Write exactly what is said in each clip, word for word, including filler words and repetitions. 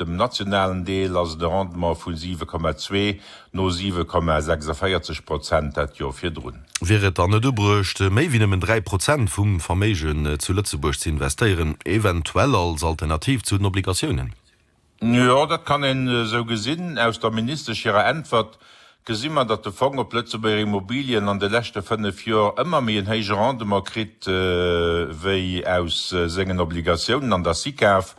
Op dem nationalen Deel ass et e Rendement vu siwe Komma zwee, no siwe Komma sechsundvéierzeg Prozent dat Joer virdrun. Wier et dann net ubruecht, méi wéi nëmmen dräi Prozent vum Verméigen zu Lëtzebuerg ze investéieren, eventuell als Alternativ zu den Obligatiounen? Jo, dat kann een esou gesinn. Aus der Ministesch hirer Äntwert gesi mer, datt de Fong op Lëtzebuerger Immobilien an de leschte fënnef Joer ëmmer méi en héije Rendement kritt wéi aus sengen Obligatiounen an der SICAV.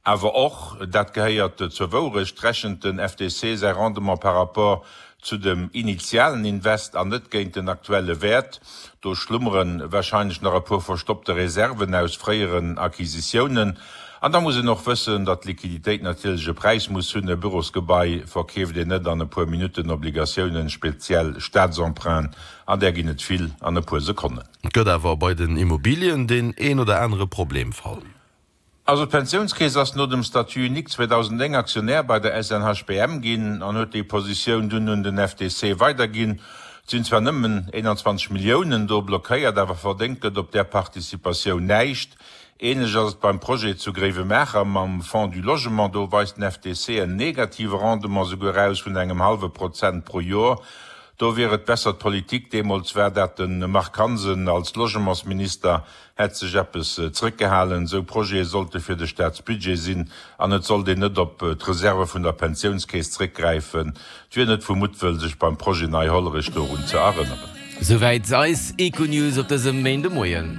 Awer och, dat gehéiert zur Wourecht, rechent den F D C säi Rendement par rapport zu dem initialen Invest an net géint den aktuelle Wäert. Do schlummere warscheinlech nach e puer verstoppte Reserven aus fréieren Acquisitiounen. An da muss een och wëssen, datt d'Liquiditéit natierlech e Präis muss hunn. E Bürosgebai verkeeft een net an e puer Minutten, Obligatiounen, speziell Staatsemprunten, an där ginn et vill, an e puer Sekonnen. Et gëtt awer bei den Immobilien deen een oder anere Problemfall. Also d'Pensiounskeess ass no dem Statut unique zweedausendnéng Aktionär bei der S N H B M ginn an huet déi Positioun dunn un den F D C weiderginn. Et sinn zwar nëmmen eenanzwanzeg Milliounen do blockéiert, awer verdéngt gëtt op där Participatioun näischt. Ähnlech ass et beim Projet zu Gréiwemaacher mam Fonds du Logement. Do weist den F D C en negative Rendement souguer aus vun engem hallwe Prozent pro Joer. Do wier et besser d'Politik, deemools war dat de Marc Hansen als Logementsminister, hätt sech eppes zréckgehalen. Esou Projete sollte fir de Staatsbudget sinn an et sollt een net op d'Reserve vun der Pensiounskeess zréckgräifen. Et wier net vu Muttwëll, sech beim Projet Nei Hollerech dorun ze erënneren. Souwäit eis Econews op dësem Méindemoien.